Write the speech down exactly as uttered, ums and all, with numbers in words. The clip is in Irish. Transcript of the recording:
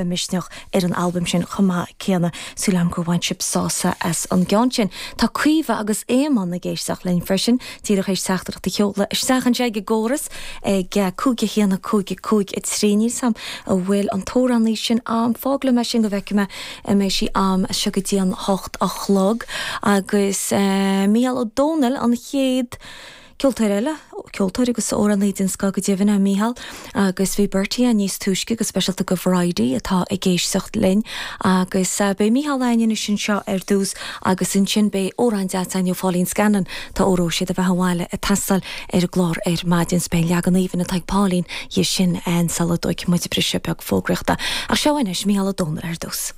Misneach ar an albam sin chomh maith céanna súil agam gur bhain sibh sásamh as an gceann sin. Tá Caoimhe agus Éamonn ag éisteacht linn freisin díreach théis teachtaireacht a sheoladh isteach anseo ag an gcóras ag cúig a haon cúig cúig a trí níl a fhios agam an bhfuil an t-amhránaí sin ann fág liom é sin go bhfeicfidh mé an mbeidh sí ann seo go dtí an hocht a chlog agus uh, Mícheál Ó Domhnaill an chéad Ceoltóir eile, ceoltóir agus amhránaí den scoth go deimhin é Mícheál, agus bhí Bertie níos túisce go speisialta go Variety atá ag éisteacht linn agus uh, beidh Mícheál againn anseo ar dtús agus ansin beidh amhrán deas ó Pauline Scanlon tá óró siad a bheith bháile a tasal ar an gclár ar maidin beidh leagan aoibhinn atá ag Pauline dhe sin an sula dtógfaidh muid briseadh beag fógraíochta. Ach seo anois Mícheál Ó Domhnaill ar dtús.